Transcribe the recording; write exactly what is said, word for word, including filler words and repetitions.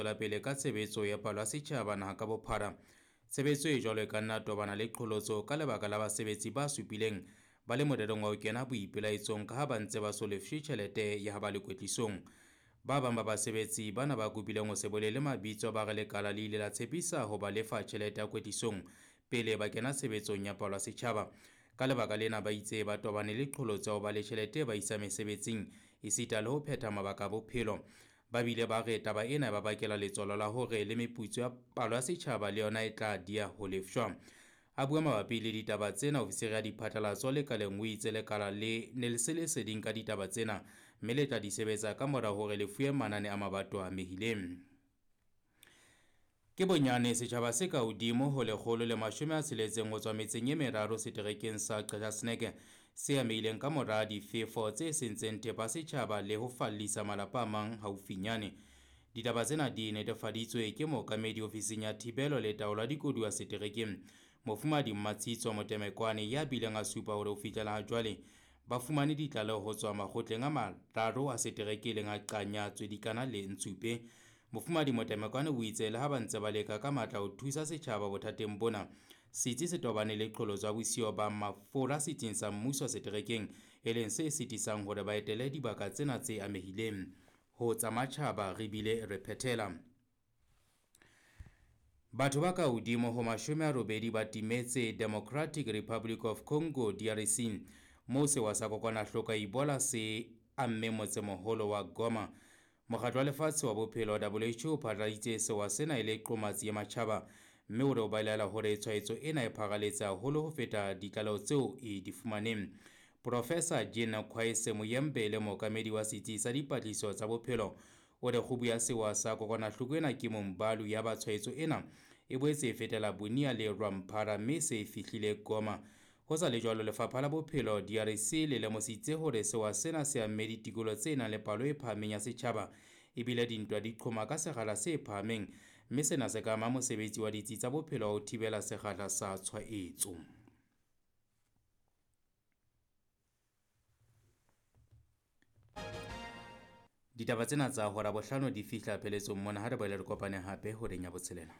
tswela pele ka tshebetso ya palo ya setjhaba naha ka bophara. Tshebetso e jwalo e ka nna tobana le qholotso ka lebaka la basebetsi ba supileng ba le morerong wa ho kena boipelaetsong ka ha ba ntse ba so lefshwe tjhelete ya ha ba le kwetlisong. Ba bang ba basebetsi bana ba kopileng ho se bolele mabitso ba re lekala le ile la tshepisa ho ba lefa tjhelete ya kwetlisong pele ba kena tshebetsong ya palo ya setjhaba. Ka lebaka lena ba itse ba tobane le qholotso ya ho ba le tjhelete e ba isa mesebetsing esita le ho phetha mabaka a bophelo. Ba bile ba re taba ena e ba bakela letswalo la hore le meputso ya palo ya setjhaba le yona e tla dia ho lefshwa. A bua mabapi le ditaba tsena, ofisiri ya diphatlalatso lekaleng o itse lekala le ne le se leseding ka ditaba tsena mme le tla di sebetsa ka mora hore le fuwe manane a mabato a amehileng. Ke bonyane setjhaba se ka hodimo ho lekgolo le mashome a tsheletseng ho tswa metseng e meraro seterekeng sa Qacha's Nek se amehileng ka mora difefo tse sentseng thepa setjhaba le ho fallisa malapa a mang haufinyane. Ditaba tsena di netefaditswe ke mookamedi ofising ya thibelo le taolo ya dikoduwa seterekeng, Mofumahadi Mmatshitso Motemekwane, ya bileng a supa hore ho fihlela ha jwale ba fumane ditlaleho ho tswa makgotleng a mararo a setereke e leng a Qanya, Tswedikana le Ntshupe. Mofumahadi Motemekwane o itse le ha ba ntse ba leka ka matla ho thusa setjhaba bothateng bona, setsi se tobane le qholotso ya bosiyo ba mafura setsing sa mmuso seterekeng, e leng se sitisang hore ba etele dibaka tsena tse amehileng. Ho tsa matjhaba re bile re phethela. Batho ba ka hodimo ho mashome a robedi ba timetse Democratic Republic of Congo D R C, moo sewa sa kokwanahloko ya Ebola se amme motsemoholo wa Goma. Mokgatlo wa Lefatshe wa Bophelo W H O o phatlaladitse sewa sena e le qomatsi ya matjhaba, mme o re o belaela hore tshwaetso ena e pharaletse haholo ho feta ditlaleho tseo e di fumaneng. Professor Jean Kwese Muyembe le mookamedi wa setsi sa dipatlisiso tsa bophelo o re kgubu ya sewa sa kokwanahloko ena ke Mombalu ya ba tshwaetso ena e boetse e fetela Bunia le Rwampara mme se fihlile Goma. Ho sa le jwalo, Lefapha la Bophelo D R C le lemositse hore sewa sena se amme ditikoloho tse nang le palo e phahameng ya setjhaba ebile dintwa di qhoma ka sekgahla se phahameng, mme sena se ka ama mosebetsi wa ditsi tsa bophelo wa ho thibela sekgahla sa tshwaetso. Ditaba tsena tsa hora bohlano di fihla pheletsong mona, ha re boele re kopane hape horeng ya botshelela.